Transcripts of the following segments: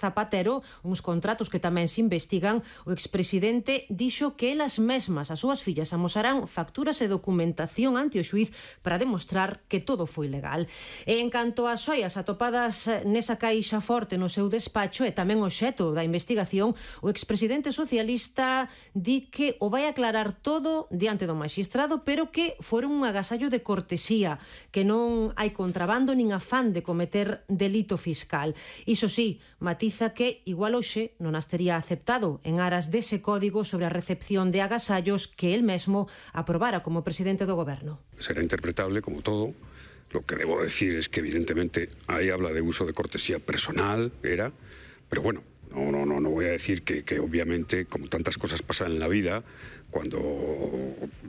Zapatero, uns contratos que tamén se investigan, o expresidente dixo que elas mesmas, as súas fillas, amosarán facturas e documentación ante o xuíz para demostrar que todo foi legal. E en canto ás xoias atopadas nesa caixa forte no seu despacho e tamén o xeto da investigación, o expresidente socialista di que o vai aclarar todo diante do magistrado, pero que foron un agasallo de cortesía, que non hai contrabando nin afán de cometer delito fiscal. Iso sí, matiza que igual hoxe non as tería aceptado en aras dese código sobre a recepción de agasallos que el mesmo aprobara como presidente do goberno. Será interpretable como todo. Lo que debo decir es que evidentemente ahí habla de uso de cortesía personal, pero bueno, no voy a decir que obviamente, como tantas cosas pasan en la vida, cuando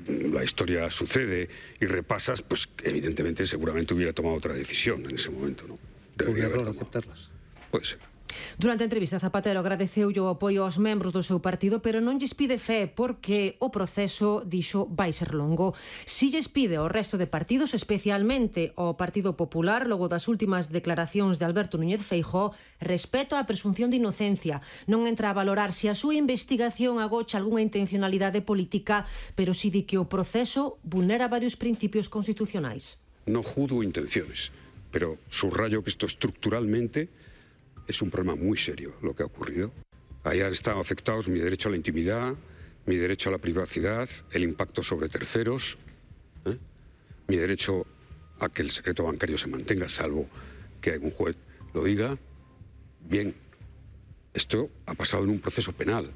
la historia sucede y repasas, pues evidentemente seguramente hubiera tomado otra decisión en ese momento, ¿no? Debería haber aceptarlas. Puede ser. Durante a entrevista, Zapatero agradeceu o apoio aos membros do seu partido, pero non lles pide fe porque o proceso, dixo, vai ser longo. Si lles pide ao resto de partidos, especialmente ao Partido Popular, logo das últimas declaracións de Alberto Núñez Feijóo, respeto á presunción de inocencia. Non entra a valorar se a súa investigación agocha algunha intencionalidade política, pero si di que o proceso vulnera varios principios constitucionais. No juzgo intenciones, pero subrayo que esto estructuralmente es un problema muy serio lo que ha ocurrido. Ahí han estado afectados mi derecho a la intimidad, mi derecho a la privacidad, el impacto sobre terceros, mi derecho a que el secreto bancario se mantenga, salvo que algún juez lo diga. Bien, esto ha pasado en un proceso penal.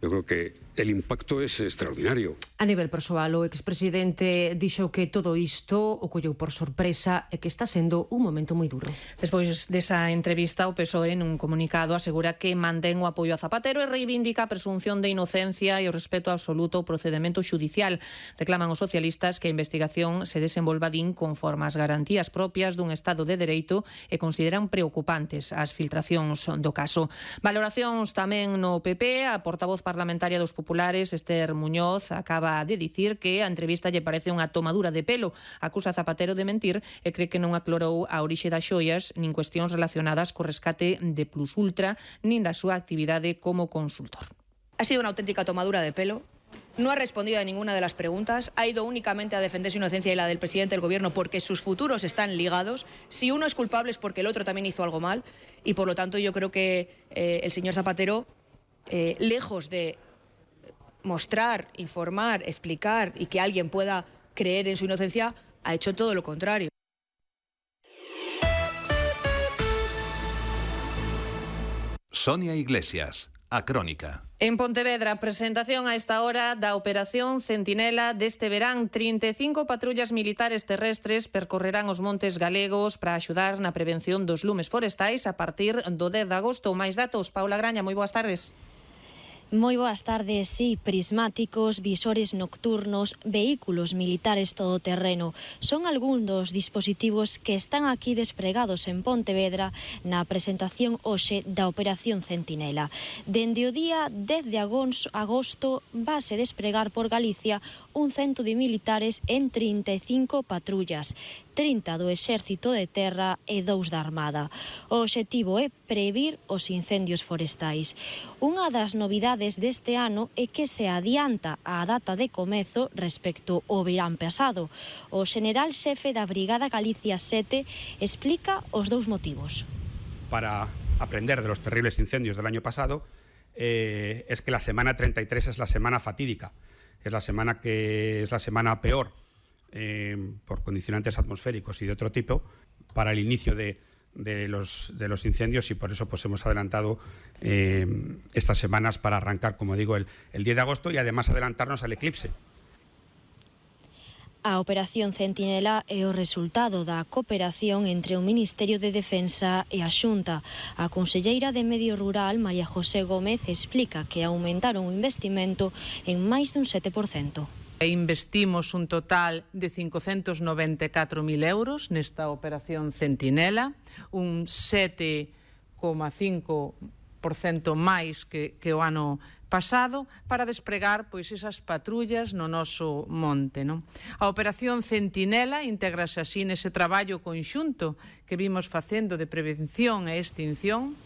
Yo creo que el impacto es extraordinario. A nivel persoal, o expresidente dixo que todo isto o colleu por sorpresa e que está sendo un momento moi duro. Despois desa entrevista, o PSOE nun comunicado asegura que mantén o apoio a Zapatero e reivindica a presunción de inocencia e o respeto absoluto ao procedemento xudicial. Reclaman os socialistas que a investigación se desenvolva conforme as garantías propias dun Estado de Dereito e consideran preocupantes as filtracións do caso. Valoracións tamén no PP. A portavoz parlamentaria dos Populares, Esther Muñoz, acaba de dicir que a entrevista lle parece unha tomadura de pelo. Acusa a Zapatero de mentir e cree que non aclarou a orixe das xoias nin cuestións relacionadas co rescate de Plus Ultra nin da súa actividade como consultor. Ha sido una auténtica tomadura de pelo. No ha respondido a ninguna de las preguntas, ha ido únicamente a defender su inocencia y la del presidente del gobierno porque sus futuros están ligados. Si uno es culpable es porque el otro también hizo algo mal y por lo tanto yo creo que el señor Zapatero, lejos de mostrar, informar, explicar y que alguien pueda creer en su inocencia, ha hecho todo lo contrario. Sonia Iglesias, A Crónica. En Pontevedra, presentación a esta hora da Operación Centinela deste verán. 35 patrullas militares terrestres percorrerán os montes galegos para axudar na prevención dos lumes forestais a partir do 10 de agosto. Máis datos, Paula Graña, moi boas tardes. Moi boas tardes, sí, prismáticos, visores nocturnos, vehículos militares todoterreno. Son algún dos dispositivos que están aquí despregados en Pontevedra na presentación hoxe da Operación Centinela. Dende o día 10 de agosto vase despregar por Galicia un cento de militares en 35 patrullas, 30 do Exército de Terra e 2 da Armada. O obxectivo é previr os incendios forestais. Unha das novidades deste ano é que se adianta a data de comezo respecto ao verán pasado. O xeneral xefe da Brigada Galicia 7 explica os dous motivos. Para aprender de los terribles incendios del año pasado, es que la semana 33 es la semana fatídica. Es la semana que es la semana peor por condicionantes atmosféricos y de otro tipo para el inicio de los incendios, y por eso pues hemos adelantado estas semanas para arrancar, como digo, el 10 de agosto y además adelantarnos al eclipse. A Operación Centinela é o resultado da cooperación entre o Ministerio de Defensa e a Xunta. A conselleira de Medio Rural, María José Gómez, explica que aumentaron o investimento en máis dun 7%. Investimos un total de 594.000 euros nesta Operación Centinela, un 7,5% máis que o ano pasado, para despregar pois esas patrullas no noso monte, non? A Operación Centinela integrase así nese traballo conxunto que vimos facendo de prevención e extinción